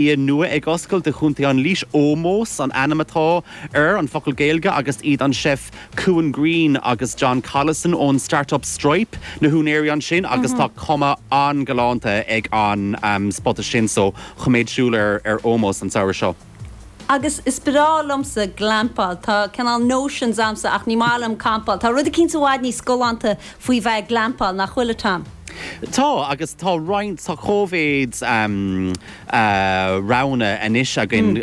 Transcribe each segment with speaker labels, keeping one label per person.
Speaker 1: Bia nua ag oscailt i gContae an Laois, Ómós an ainm atá air, an focal Gaeilge, agus iad an chef Cuan Greene agus John Collison ón start-up Stripe na húinéirí ansin agus tá cuma an-ghalánta ag an spota sin so coiméad súil ar Ómós an samhradh seo.
Speaker 2: Agus is breá liomsa glampáil. Tá cineál notions a'msa ach ní maith liom campáil. Tá rud eicínt i bhfad níos galánta faoi bheith ag glampáil, nach bhfuil, a Tom?
Speaker 1: Tá, agus tá roinnt, tá cóimhéid roghanna anois againn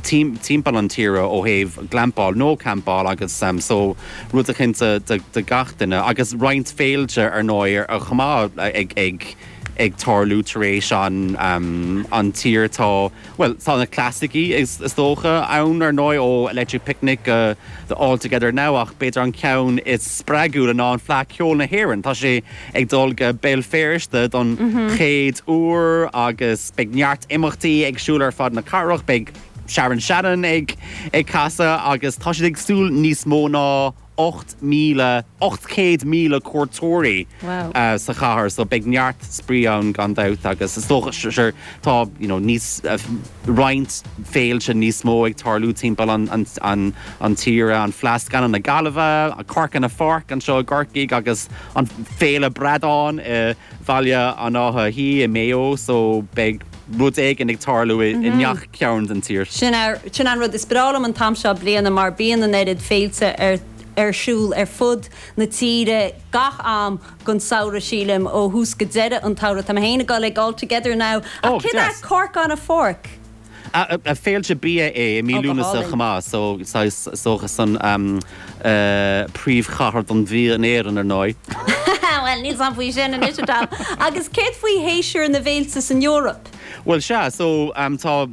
Speaker 1: timpeall an tíre ó thaobh glampáil nó campáil agus so rud eicínt do gach duine agus roinnt féilte ar ndóigh chomh maith ag ag tarlú tar éis an an tír tá bhuel tá na clasaicí is dócha ann ar ndóigh ó Electric Picnic go the All Together Now ach b'fhéidir an ceann is spreagúla ná an Fleadh Ceoil na hÉireann. Tá sé ag dul go Béal Feirste don chéad uair agus beidh neart imeachtaí ag siúl ar fad na cathrach, beidh Sharon Shannon ag ag casadh agus tá siad ag súil níos mó ná 8,000, 800,000 cuairteoirí sa chathair so beidh neart spraoi ann gan dabht agus is dócha sure tá you know níos roinnt féilte níos mó ag tarlú timpeall an an an an tíre, an Fleadh Scannán na Gaillimhe, Cork in a Fork anseo i gCorcaigh agus an Féile Bradán i Bhaile an Átha Shuí i Maigh Eo so beidh rud éigin ag tarlú i ngach cearn den tír.
Speaker 2: Sin sin an rud is breá liom an t-am seo bliana mar bíonn an oiread féilte ar ar siúl ar fud na tíre gach am den samhradh sílim, ó thús go deireadh an tsamhraidh. Tá mé féin ag dul ag All Together Now. Ach céard é Cork on a Fork?
Speaker 1: Féilte bia é i mí Lúnasa chomh maith so saghas is dócha san príomhchathair don bhia in Éirinn ar ndóigh.
Speaker 2: Bhuel níl 's a'm faoi sin anois a Tom. Agus céard faoi shéasúr na bhféilte san Eoraip?
Speaker 1: Bhuel sea, so tá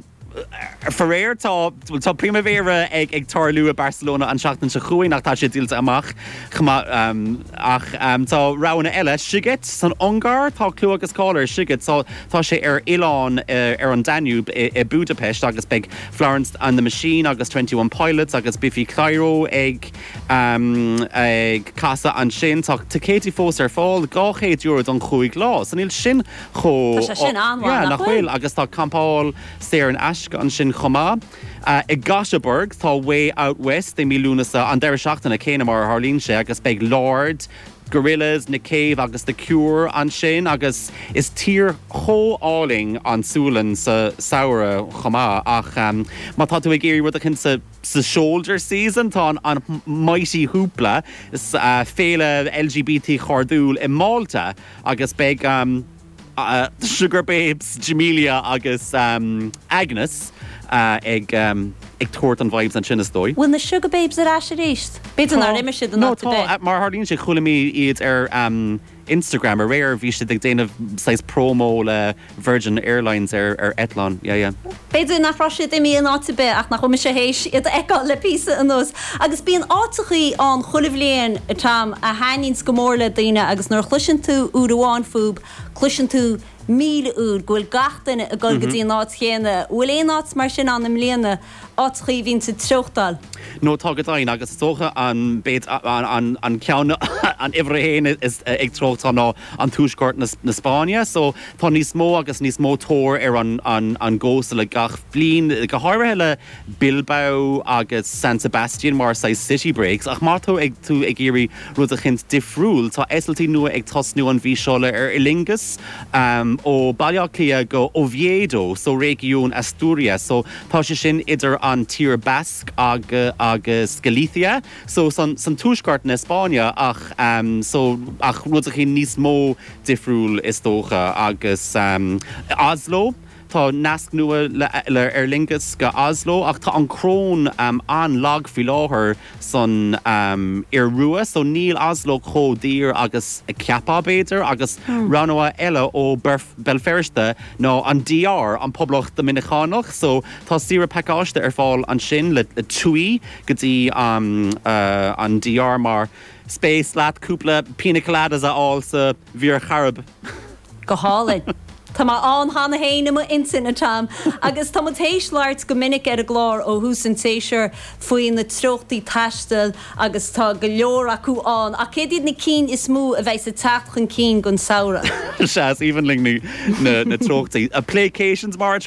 Speaker 1: faraor tá bhuel tá Primavera ag ag tarlú i Barcelona an tseachtain seo chugainn ach tá sé díolta amach chomh maith ach tá roghanna eile, Sziget san Ungáir, tá clú agus cáil ar Sziget, tá Tá sé ar oileán ar an Danube i Budapest agus beidh Florence and the Machine agus 21 Pilots agus Biffy Clyro ag ag casadh ansin. Tá ticéidí fós ar fáil, €200 don chúig lá, so níl sin chomh.
Speaker 2: Tá sé sin an-mhaith,
Speaker 1: Yeah, nach bhfuil? Agus tá campáil saor in aisce ansin chomh maith. I Göteborg tá Way Out West i mí Lúnasa, an deireadh seachtaine céanna mar a tharlaíonn sé, agus beidh Lorde, Gorillaz, Nick Cave agus The Cure ansin agus is tír chomh álainn an tSualainn sa samhradh chomh maith ach má tá tú ag iarraidh rud eicínt sa sa shoulder season tá an Mighty Hoopla, féile LGBT chairdiúil i Málta agus beidh Sugababes, Jamelia agus Agnes ag tabhairt an vibes ansin is dóigh.
Speaker 2: Bhfuil na Sugababes ar ais arís? B'fhéidir nár imigh siad in áit ar bith.
Speaker 1: Tá, mar a tharlaíonn sé chuala mé iad ar Instagram aréir, bhí siad ag déanamh saghas promo le Virgin Airlines ar eitleán, yeah yeah.
Speaker 2: B'fhéidir nach raibh siad imithe in áit ar bith ach nach bhfuil mise théis iad a fheiceáil le píosa anuas. Agus bíonn áiteachaí ann chuile bhliain, a Tom, a thaitníonns go mór le daoine agus nuair a chloiseann tú uair amháin fúb, cloiseann tú 1,000 uair go bhfuil gach duine ag dul go dtí an áit chéanna. Bhfuil aon áit mar sin ann i mbliana, áiteachaí a bhíonns ag treochtáil?
Speaker 1: No tá go deimhin agus is dócha an b'fhéidir an an ceann an uimhir a haon is ag treochtáil ná an tuaisceart na na Spáinne so tá níos mó agus níos mó tóir ar an an an gcósta le gach bliain go háirithe le Bilbao agus San Sebastian mar saghas city breaks ach má tá ag tú ag iarraidh rud eicínt difriúil tá eitiltí nua ag tosnú an mhí seo le Aer Lingus ó Baile Átha Cliath go Oviedo so réigiún Asturias so tá sé sin idir an tír Basque agus Galicia so san san tuaisceart na Spáinne ach so ach rud eicínt níos mó difriúil is dócha agus Oslo Tá nasc nua le Aer Lingus go Oslo ach tá an chróin an-lag faoi láthair san Iorua so níl Oslo chomh daor agus a cheapfá b'fhéidir agus rogha eile ó Béal Feirste ná an DR, an Poblacht Doiminiceánach so tá saoire pacáiste ar fáil ansin le TUI go dtí an DR más spéis leat cúpla pina coladas a fháil sa Mhuir Chairib.
Speaker 2: Go hálainn. Tá mé ann cheana féin i m'intinn, a Tom. Agus tá muid théis labhairt go minic ar an gclár ó thús an tséasúir faoi na treochtaí taistil agus tá go leor acu ann. Ach céard iad na cinn is mó a bheidh ag teacht chun cinn don samhradh?
Speaker 1: Sea, is aoibhinn linn na treochtaí. Playcations mar a.